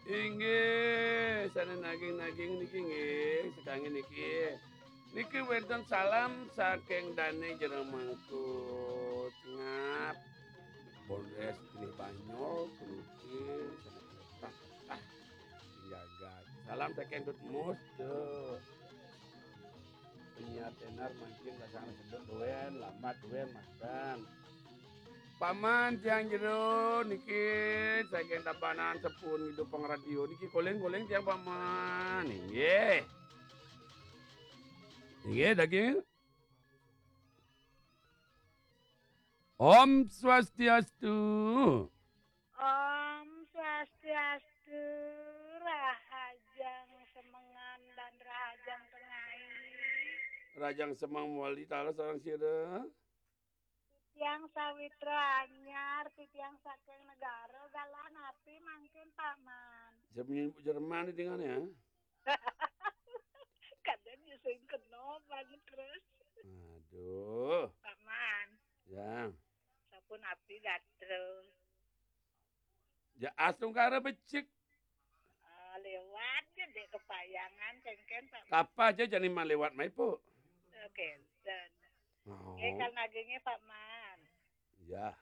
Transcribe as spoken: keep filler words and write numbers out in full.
Inggih, sané naging-naging niki nggih, sakangge niki. Niki wénten salam saking Dané Jero Mangkut. Ngap. Polres Geni Banyol, puniki sané tah, tah, jagat. Salam saking Dut Mus, tuh. Penyiar tenar mangkin rasane sedek duwen, lambat duwen, masten. Paman tiang jero niki saking Tabanan Sepun Ngidu Pangradio niki, koling-koling tiang paman. Inggih. Inggih, daging. Om Swastiastu. Om Swastiastu, Rahajeng Semengan dan Rahajeng Tengai. Rahajeng Semeng mewali taler sareng sira. Titiang sawitra anyar, titiang saking negara galah napi mangkin, Paman? Sing nyebut Jerman dingane ya. Kadang ya sing kena banget terus. Aduh. Paman. Ya. Sapunapi gatra? Ya astungkara becik. Ah, lewat ya dek kepayangan kengken, Pak. Kapa aja jani man lewat maipo. Oke, dan. Oh. Eh, kal nagingnya, Pak Man. Ya.